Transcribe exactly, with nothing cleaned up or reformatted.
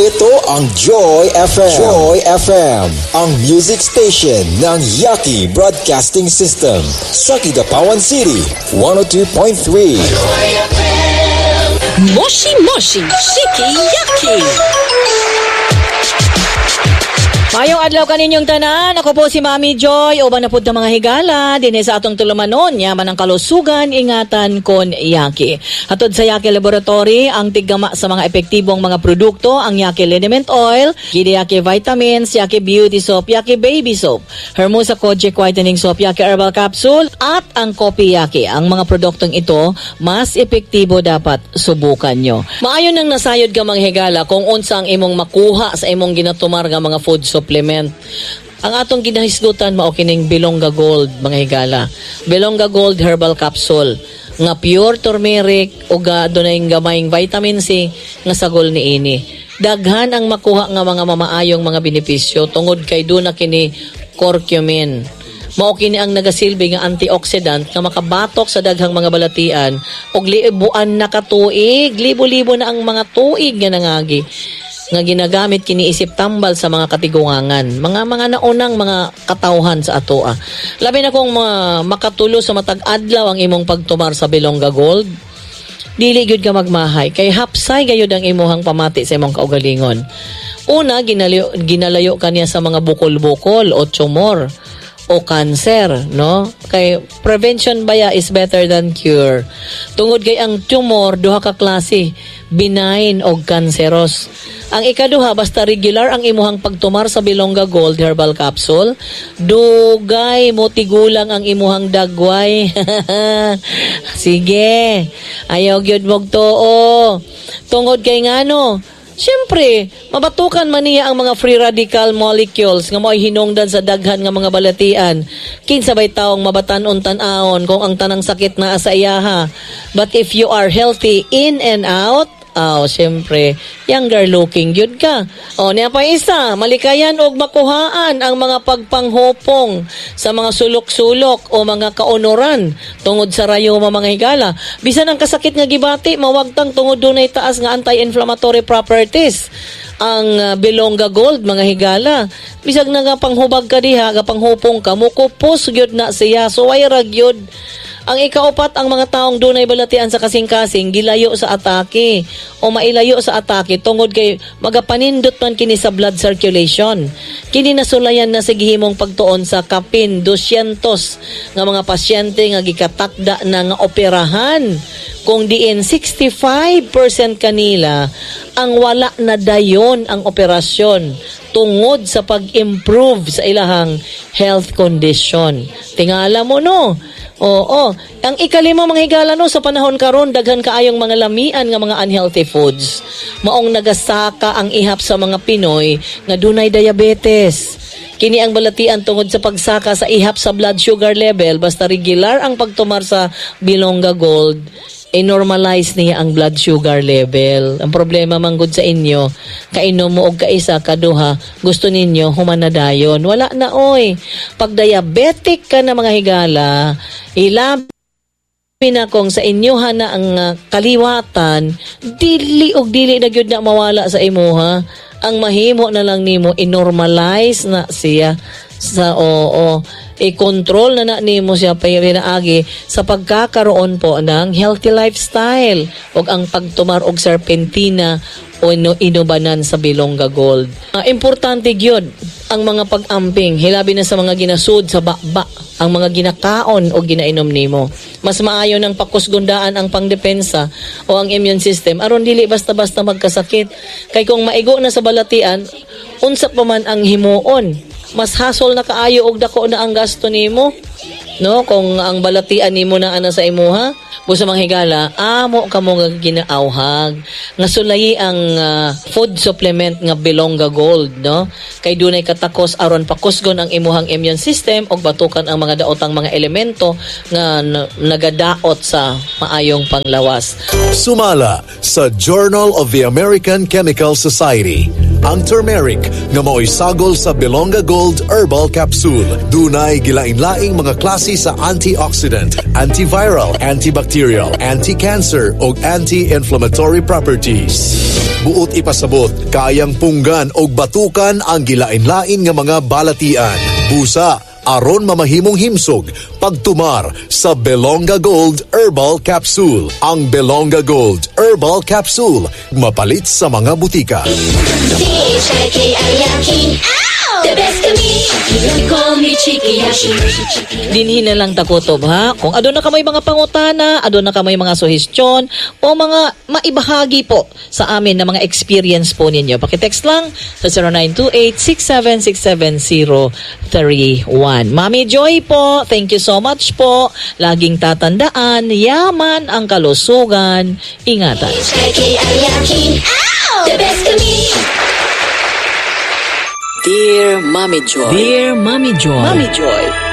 Ito ang Joy F M. Joy F M, ang music station ng Yaki Broadcasting System. Sa Kidapawan City, one oh two point three. Moshi Moshi Shiki Yaki. Maayong adlaw kaninyong tanan. Ako po si Mami Joy. Uban na pud ta, mga higala dinhi sa atong tulumanon. Yaman ang kalusugan, ingatan kon Yaki. Hatod sa Yaki Laboratory, ang tiggama sa mga epektibong mga produkto, ang Yaki Liniment Oil, Kidi Yaki Vitamins, Yaki Beauty Soap, Yaki Baby Soap, Hermosa Kojic Whitening Soap, Yaki Herbal Capsule, at ang Kopi Yaki. Ang mga produktong ito, mas epektibo, dapat subukan nyo. Maayo nang nasayod ka, mga higala, kung unsa ang imong makuha sa imong ginatumar nga mga food supplement. Ang atong ginahisgutan mao kining Bilongga Gold, mga higala. Bilongga Gold Herbal Capsule nga pure turmeric ug adunay gamayng vitamin C nga sagol niini. Daghan ang makuha nga mga mamaayong mga benepisyo tungod kay duna kini curcumin. Mao kini ang nagasilbi nga antioxidant nga makabatok sa daghang mga balatian ug libuan na ka tuig, libo-libo na ang mga tuig nga nangagi nga ginagamit kini isip tambal sa mga katiguangan, mga mga naunang mga katawhan sa atoa. Labi na kung mga makatulo sa matag adlaw ang imong pagtumar sa Bilongga Gold, dili gyud ka magmahay kay hapsay gayud ang imuhang pamati sa imong kaugalingon. Una, ginalayo, ginalayo kaniya sa mga bukol-bukol o tumor o cancer, no? Kay prevention baya is better than cure. Tungod kay ang tumor duha ka klase, benign o cancerous. Ang ikaduha, basta regular ang imuhang pagtumar sa Bilongga Gold Herbal Capsule, dugay mo tigulang ang imuhang dagway. Sige, ayaw gyud mog tuo. Tungod kay ngano, siyempre, mabatukan man niya ang mga free radical molecules nga mo'y hinungdan sa daghan nga mga balatian. Kinsa bay taong mabatan-on tan-aon kung ang tanang sakit naa sa iyaha? But if you are healthy in and out, oh, siyempre, younger looking gyud ka. Oh, niya pa isa, malikayan og makuhaan ang mga pagpanghupong sa mga sulok-sulok o mga kaunoran tungod sa rayuma, mga higala. Bisan ang kasakit nga gibati, mawagtang tungod dunay taas nga anti-inflammatory properties ang uh, Bilongga Gold, mga higala. Bisag na nga panghubag ka diha, ga panghupong ka, mukupos gyud na siya. So way ra gyud. Ang ikaupat, ang mga taong dunay balatian sa kasing-kasing, gilayo sa atake o mailayo sa atake tungod kay magapanindot man kini sa blood circulation. Kini nasulayan na sa gihimong pagtuon sa kapin two hundred nga mga pasyente nga gikatakda na nga operahan kung diin sixty-five percent kanila ang wala na dayon ang operasyon tungod sa pag-improve sa ilahang health condition. Tingala mo, no? Oo. Ang ikalima, mga higala, no, sa panahon karon daghan kaayong mga lamian nga mga unhealthy foods. Maong nagasaka ang ihap sa mga Pinoy nga dunay diabetes. Kini ang balatian tungod sa pagsaka sa ihap sa blood sugar level. Basta regular ang pagtumar sa Bilongga Gold, i-normalize niya ang blood sugar level. Ang problema manggod sa inyo, kainom mo og kaisa, kaduha, gusto ninyo human na dayon. Wala na oy. Pag diabetic ka na, mga higala, ilabi na kung sa inyo na ang uh, kaliwatan, dili og dili na gyud na mawala sa imuha. Ang mahimo na lang nimo, i-normalize na siya sa, oo, i-control na na nimo siya pinaagi sa pagkakaroon po ng healthy lifestyle ug ang pagtumar og serpentina o ino- inubanan sa Bilongga Gold. Uh, importante gyud ang mga pag-amping, hilabi na sa mga ginasud sa baba, ang mga ginakaon o ginainom nimo. Mas maayo nang pakusgundaan ang pangdepensa o ang immune system aron dili basta-basta magkasakit. Kay kung maigo na sa balatian, unsa pa man ang himuon? Mas hasol na kaayo og dako na ang gasto nimo. No, kung ang balatian nimo na ana sa imuha, busa, mga higala, amo kamo nga ginaawhag nga sulayi ang ah, food supplement nga Bilongga Gold, no? Kay dunay katakos aron pakusgon ang imuhang immune system ug batukan ang mga daotang mga elemento nga n- nagadaot sa maayong panglawas. Sumala sa Journal of the American Chemical Society, ang turmeric nga mao'y sagol sa Bilongga Gold Herbal Capsule. Dunay gilain-laing mga klase sa antioxidant, antiviral, antibacterial, anti-cancer ug anti-inflammatory properties. Buot ipasabot, kayang punggan og batukan ang gilain-lain nga mga balatian. Busa, aron mamahimong himsog, pagtumar sa Belonga Gold Herbal Capsule. Ang Belonga Gold Herbal Capsule, mapalit sa mga butika. C H I K I Yaki. The best of me. You call me Chikiyashi. Dinhi na lang takutob, ha. Kung aduna kamoy mga pangutana, aduna kamoy mga suhestyon o mga maibahagi po sa amin na mga experience po ninyo, paki-text lang sa zero nine two eight, six seven six seven, zero three one. Mami Joy po, thank you so much po. Laging tatandaan, yaman ang kalusugan. Ingatan. H I K I Yaki. The best of me. Dear Mommy Joy. Dear Mommy Joy. Mommy Joy.